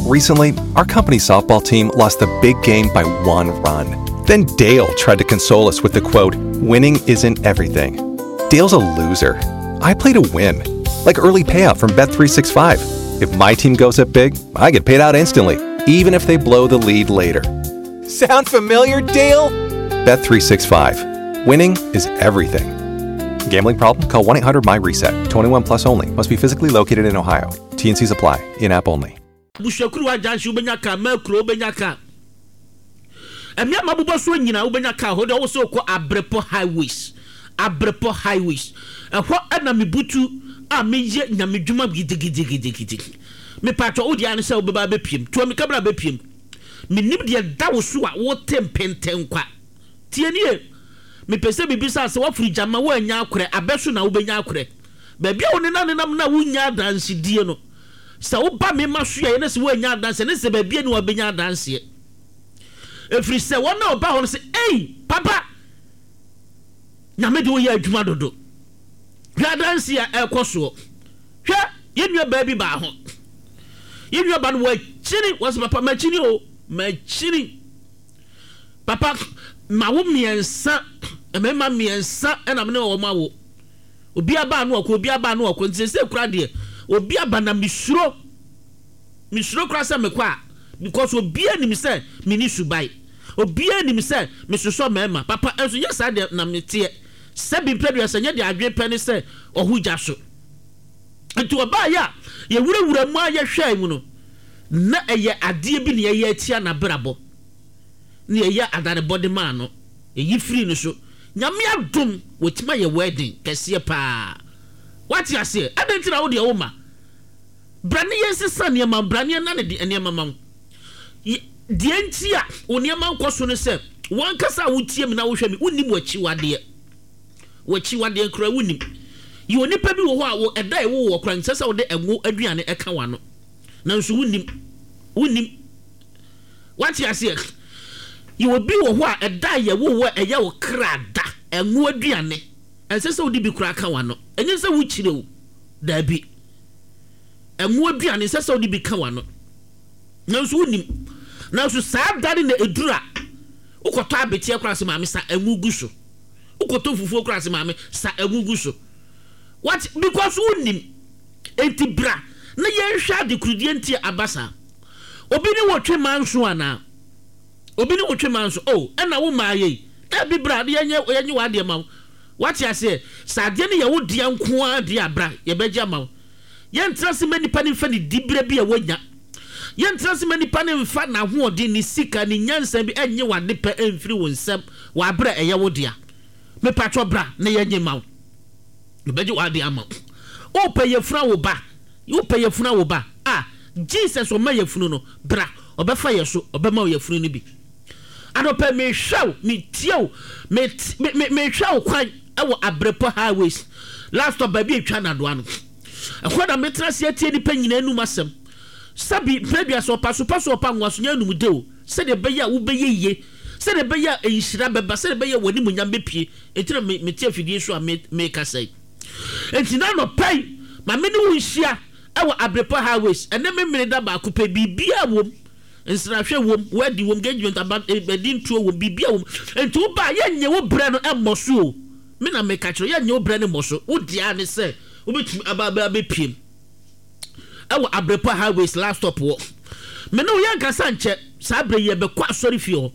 Recently, our company softball team lost the big game by one run. Then Dale tried to console us with the quote, Winning isn't everything. Dale's a loser. I play to win, like early payout from Bet365. If my team goes up big, I get paid out instantly, even if they blow the lead later. Sound familiar, Dale? Bet365. Winning is everything. Gambling problem? Call 1 800 MyReset. 21 plus only. Must be physically located in Ohio. TNCs apply. In app only. Abusuakuruwa junction wobɛnya car, Mercury wobɛnya car. Mmea ma bobɔ soɔ nyinaa wobɛnya car hɔ deɛ ɔwɔ sɛ wokɔ Abrepɔ highways. Abrepɔ highways. Ɛhɔ ɛna mebutu a meyɛ nyamedwuma gidigidigidigidi. Mepatwɔ wo deɛ ara ne sɛ wobɛba abɛpiem. Tua mika bra bɛpiem. Menim deɛ da wo so a wote mpentɛnkwa. Tie nie, mepɛ sɛ mebisa sɛ woafiri gyama woannya akorɛ, abɛ so na wobɛnya akorɛ. Baabi a wonenam nenam no a wonnya adansedie no, sɛ woba me ma so yɛyɛ na sɛ woannya adanseɛ ne sɛ baabi ani wabɛnya adanseɛ. Ɛfiri sɛ wɔn a wɔba hɔ no sɛ, ei, papa, Nyame de woyɛ adwuma dodo. Hwɛ adanseɛ a ɛrekɔ soɔ. Hwɛ, yɛn nua baa bi baa ho. Yɛn nua ba no wakyini, wɔsɛ papa makyini o, makyini. Papa, mawo mmiɛnsa, mmarima mmiɛnsa ɛna me ne wɔn awo. Obi aba ano ɔkɔ, obi aba ano ɔkɔ. Nti sɛ kura deɛ, obi aba na mesuro. Mesuro kura sɛ mekɔ a, because obiara nim sɛ me ni suban. Obiara nim sɛ mesosɔ mmarima. Papa, nso nyɛ saa deɛ na meteɛ. Sɛbi mpɛdua sɛ nyɛ deɛ adwene pɛ ne sɛ ɔho gya so. Nti ɔbaeɛ a yɛwurawura mu a yɛhwɛɛ mu no, na ɛyɛ adeɛ bi na yɛyɛ atia n'abrabɔ. Na yɛyɛ adanebɔ de maa no. Yɛyi firii no so. Nyame adom, watumi ayɛ wedding kɛseɛ paa. Wate aseɛ? Adɛn nti na wo deɛ womma? Bra ne yɛnsesa nneɛma, bra ne yɛnane de nneɛma ma wo. Deɛ nti a wo nneɛma nkɔ so ne sɛ, w'ankasa a wotie me na wohwɛ me, wonnim w'akyiwadeɛ. W'akyiwadeɛ koraa wonnim. Yɛ onipa bi wɔ hɔ a, wo ɛda a ɛwoo wɔ koraa, nsɛ sɛ wode ɛngo aduane ɛka w'ano. Nanso wonnim. Wonnim. Wate aseɛ? Yɛ obi wɔ hɔ a, ɛda a yɛwoo wo a ɛyɛ wo kra da, ɛngo aduane, ɛnsɛ sɛ wode bi koraa ka w'ano. Ɛnyɛ sɛ wokyire o. Daabi. Ɛngo aduane, ɛnsɛ sɛ wode bi ka w'ano. Nanso wonnim. Nanso saa da no na ɛduru a, wokɔtɔ abeteɛ koraa sɛ maame sa ɛngo gu so. Wokɔtɔ fufuo koraa sɛ maame sa ɛngo gu so. What? Because wonnim. Enti bra na yɛnhwɛ adekodeɛ nti a aba saa. Obi ne wo twe manso anaa? Obi ne wo twe manso? Oh, ɛna wo mmaa yei. Dabi bra na yɛnyɛ yɛnye w'adeɛ ma wo. Wate aseɛ? Sɛ adeɛ no yɛ wo dea nko ara deɛ a, bra yɛbɛgye ama wo. Yɛntena ase mma nipa no mfa ne diberɛ bi a wanya. Yɛntena ase mma nipa no mfa n'ahoɔden, ne sika, ne nyansa bi nnye w'ade pɛ mfiri wo nsam wɔ aberɛ a ɛyɛ wo dea. Mepatwɔ bra na yɛnye ma wo. Yɛbɛgye w'ade ama wo. Wopɛ yafunu awo ba? Wopɛ yafunu awo ba? Ah, Jesus ɔma yafunu no, bra, ɔbɛfa yɛ so, ɔbɛma wo yafunu no bi. Anɔpa yi, mehwɛ wo, metie wo, me, me, me, mehwɛ wo kwan wɔ Abrepɔ Highways, last stop baabi a etwa Nadoa no. Ɛhɔ na metena ase atie nnipa nyinaa anum asɛm. Sɛbi, mpɛn aduasa, ɔpa so pa so ɔpa nwoa so nyɛ anum de o, sɛdeɛ ɛbɛyɛ a wobɛyɛ yie, sɛdeɛ ɛbɛyɛ a nhyira bɛba, sɛdeɛ ɛbɛyɛ a w'animuonyam bɛpue. Enti na me, mete afidie so a me, mekasa yi. Enti na anɔpa yi, ma me ne wo nhyia wɔ Abrepɔ Highways. Ɛnnɛ Memeneda baako pɛ, biribiara wom. Nsrahwɛ wom, wedding wom, engagement, aba, ɛdi ntuo wom, biribiara wom. Enti woba a, yɛnnye wo berɛ no mmɔ so o. Me na meka kyerɛ wo, yɛnnye wo berɛ no mmɔ so. Wo deɛ ara ne sɛ wobɛtumi aba abɛpiem wɔ Abrepɔ Highways last stop hɔ. Me ne wo yɛnkasa nkyɛ, saa berɛ yi yɛbɛkɔ asɔrefie hɔ.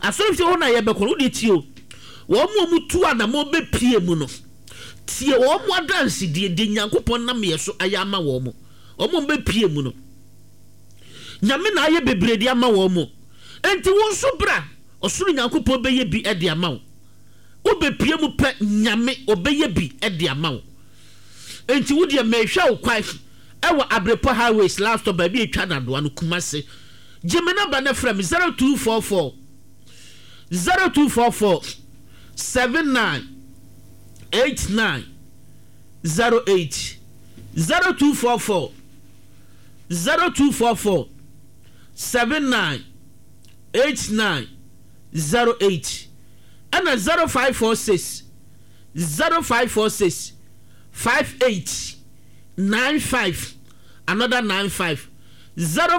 Asɔrefie hɔ no a yɛbɛkɔ no, wo deɛ tie o. Wɔn a wɔtu anamɔn bɛpie mu no, tie wɔn adansedie, deɛ Nyankopɔn nam yɛ so ayɛ ama wɔn. Wɔn a wɔbɛpie mu no, Nyame na ayɛ bebree de ama wɔn mo. Enti wo nso bra, ɔsoro Nyankopɔn bɛyɛ bi de ama wo. Wobɛpue mu pɛ, Nyame ɔbɛyɛ bi de ama wo. Enti wo deɛ mehwɛ wo kwan ɛwɔ Abrepɔ Highways last stop baabi a ɛtwa Nadoa no, Kumasi. Gye me number na frɛ me 0244 0244 79 89 08 0244 0244 79 89 08 ɛna 0546 0546 58 95 another 95 0.